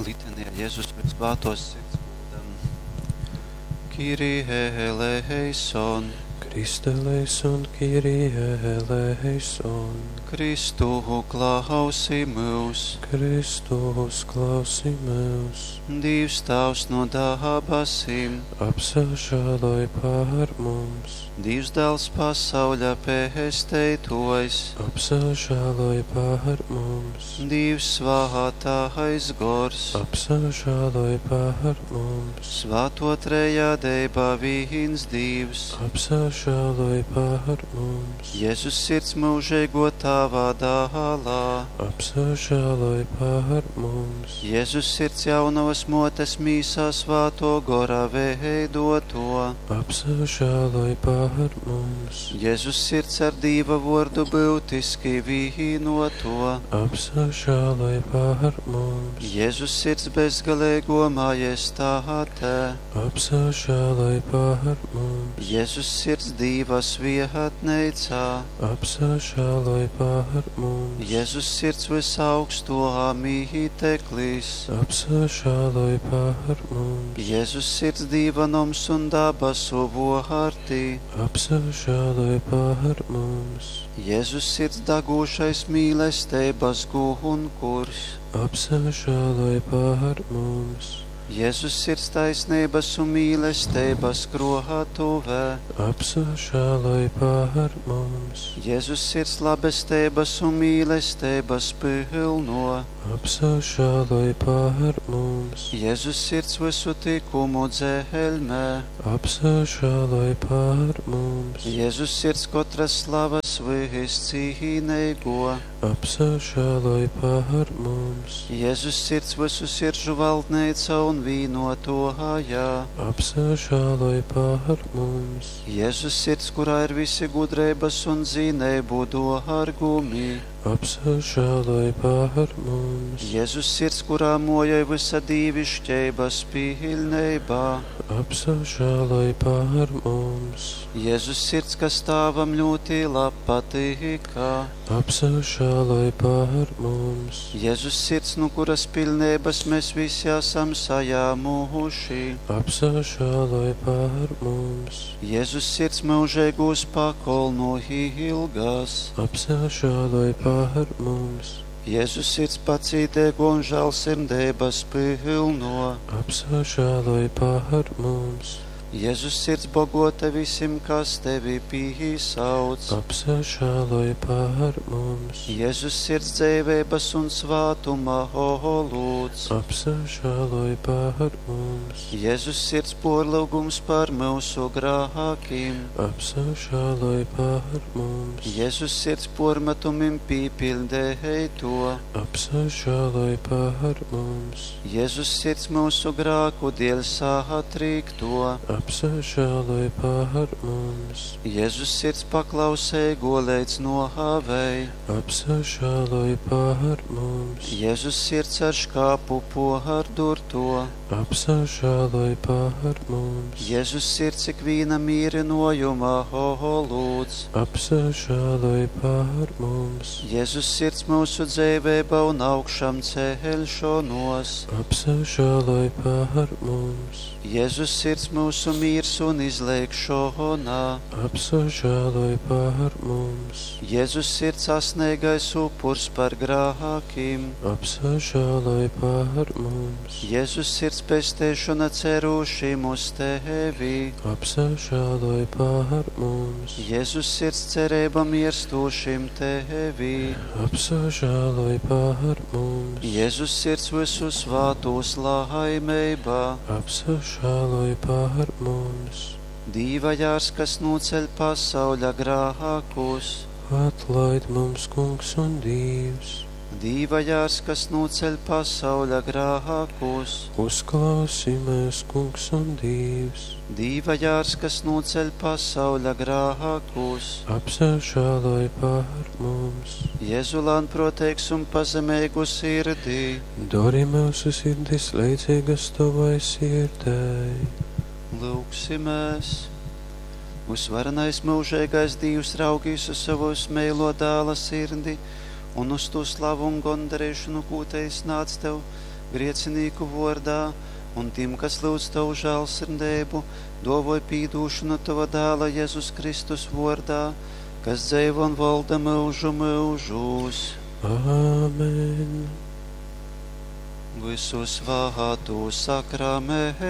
Litanija Jezus Vyssvātōs Sirds gūdam. Kyrie eleison. Christe eleison, Kyrie eleison. Kristu klausi myus. Kristu uzklausi myus. Dīvs Tāvs no dabasim. Apsažāloj pār mums. Dīvs Dāls pasauļa pesteitōjs. Apsažāloj pār mums. Dīvs svātais gors. Apsažāloj pār mums. Svāto trejadeiba vīns Dīvs. Apsažāloj pār mums. Jēzus sirds mūžīgo Tāva dālā. Apsažāloj pār mums. Jēzus sirds jaunavas motes mīsā svāto gora veidoto. Apsažāloj pār mums. Jēzus sirds ar Dīva vordu būtiski vīnoto. Apsažāloj pār mums. Jēzus sirds bezgalīgo majestāte. Apsažāloj pār mums. Jēzus sirds Dīva svietneicā. Apsažāloj pār mums. Jēzus sirds visaugsto mīteklis. Apsažāloj pār mums. Jēzus sirds Dīva noms un dabasu vārti. Apsažāloj pār mums. Jēzus sirds dagūšais mīlestības gunkurs. Apsažāloj pār mums. Jēzus sirds taisnības un mīlestības krohatuvē. Apsažāloj pār mums. Jēzus sirds labestības un mīlestības pilno. Apsažāloj pār mums. Jēzus sirds visu tikumu dzelmē. Apsažāloj pār mums. Jēzus sirds katras slavas viscīnīgo. Apsažāloj pār mums. Jēzus sirds visu sirdžu valdneica un vīnotohajā. Apsažāloj pār mums. Jēzus sirds, kurā ir visi gudrības un zinību dārgumi. Apsažāloj pār mums. Jēzus sirds, kurā mojai visa dīvišķības pilnībā. Apsažāloj pār mums. Jēzus sirds, kas tāvam ļoti patika. Apsažāloj pār mums. Jēzus sirds, no kuras pilnības mēs visi esam sajāmuši. Apsažāloj pār mums. Jēzus sirds mūžīgos pakolnu ilgas. Apsažāloj pār mums. Jēzus sirds pacītīgo un žēlsirdības pilno. Apsažāloj pār mums. Jēzus sirds bogota visiem, kas tevi pīsauc. Apsažāloj pār mums. Jēzus sirds dzīvības un svātuma holūds. Apsažāloj pār mums. Jēzus sirds porlūgums par mūsu grākiem. Apsažāloj pār mums. Jēzus sirds pormetumim pīpildēja to. Apsažāloj pār mums. Jēzus sirds mūsu grāku dēļ satrīkto. Apsažāloj pār mums. Jēzus sirds paklausēgo līdz nohāvei. Apsažāloj pār mums. Jēzus sirds ar škāpu pohardurto. Apsažāloj pār mums. Jēzus sirds ikvīna mīrinojuma holūds. Apsažāloj pār mums. Jēzus sirds mūsu dzīvība un augšām ceļšanos. Apsažāloj pār mums. Jēzus sirds mūsu mīrs un izlēkšona. Apsažāloj pār mums. Jēzus sirds asnīgais upurs par grākiem. Apsažāloj pār mums. Jēzus sirds pestēšana cerūšim uz tevi. Apsažāloj pār mums. Jēzus sirds cerība mirstošim tevi. Apsažāloj pār mums. Jēzus sirds visu svātos laimībā. Apsažāloj pār mums. Dīva jārs, kas noceļ pasauļa grākus. Atlaid mums, kungs un Dievs. Dīva jārs, kas noceļ pasauļa grākus. Uzklausi mēs, kungs un Dievs. Dīva jārs, kas noceļ pasauļa grākus. Apsažāloj pār mums. Jēzu lānproteiks un pazemīgu sirdī. Dori mūsu sirdis līdzīgas tavai sirdei. Lūgsimies! Uzvarenais mūžīgais Dievs raugīs uz savu meilo dēla sirdi un uz to slavu un gondarīšanu, ko te iznāc tev, griecinīku vuordā, un tim, kas lyudz Tovu žālsirdeibu, duovoj pīdūšonu Tova Dāla Jezus Kristus vuordā, kas dzeivo un volda myužu myužūs. Āmen. Visu svātu sakramentūs.